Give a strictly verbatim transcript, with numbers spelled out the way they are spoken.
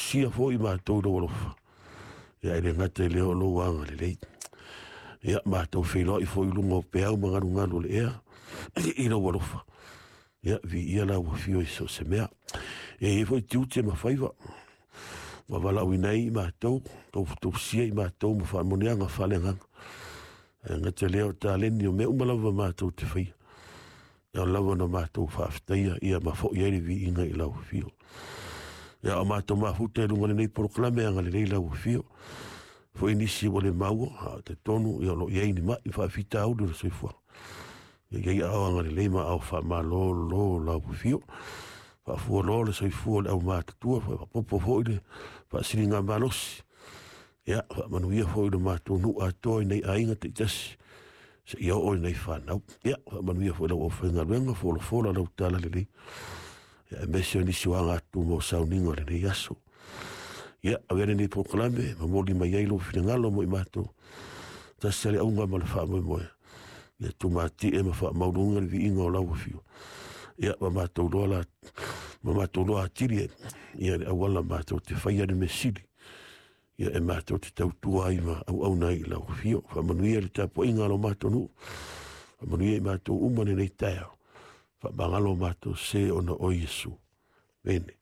tausia foi matou i lou alofa. Ia e le gata i lea o lou agalelei. Ia matou feiloai foi i luga o peau ma galugalu o le ea i lou alofa. Ia viia lau afio i so o se mea. E i ai foi tiute ma faiva ua valaauina ai i matou, tofutofusia i matou ma faamanuiaga faaleagaga. Ae gata lea o taleni o mea uma lava matou te faia. Ia lava na matou faafetaia ia ma foi ai le viiga i lau afio. Ia o matou mafuta i luga o lenei polokalame agalelei lau afio. Foi nisi ua le maua, a o talitonu ia o lo o i ai ni mai faafitauli o le soifuaga. Ia i ai aao agalelei ma aao faamalolo lau afio. Faafualoa le soifua o le aumatutua, faapopo foi le faasiligamalosi. Ia, faamanuia foi le matou nuu atoa i nei aiga taitasi seia oo i nei fanau. Ia, faamanuia foi lau aufaigaluega, folafola lau talalelei. Ia, aemaise o nisi o agatutu mo sauniga o lenei aso. Ia, avea lenei polokalame, momoli mai ai lou finagalo mo i matou. Tasi le auga ma le faamoemoe. Ia tumatie ma faamaualuga le viiga o lau afio. Ia, ma matou loa la, ma matou loa atili ai. Ia, le auala matou te faia le mea sili. Ia, e matou te tautua ai ma auauna ai i lau afio. Faamanuia le tapuaiga a lo matou nuu. Faamanuia i matou uma lenei taeao. Faamagalo matou se ona o Iesu. Amene.